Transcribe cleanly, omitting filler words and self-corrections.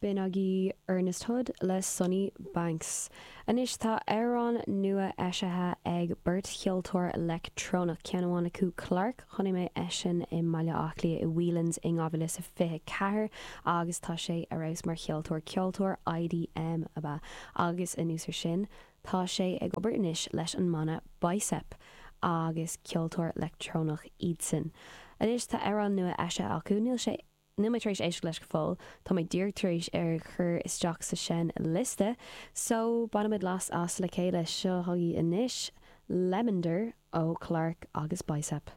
B'in agaibh Ernest Hood le Sonny Banks. Anois tá amhrán nua eisithe ag beirt cheoltóir leictreonach, ceann amháin acu Clark, chonaic mé eisean i mBaile Átha Cliath i Whelan's in 2024 agus tá sé ar fheabhas mar cheoltóir, ceoltóir IDM ab ea, agus anuas ar sin tá sé ag obair anois leis an mbanna Bicep agus ceoltóir leictreonach iadsan. Anois tá amhrán nua eisithe acu, níl sé. Níl mé tar éis éisteacht leis go fóill, tá mé díreach tar éis é a chur isteach sa seinnliosta, so bainfimid leas as le chéile. Seo chugaibh anois, Lemonder ó Clark agus Bicep.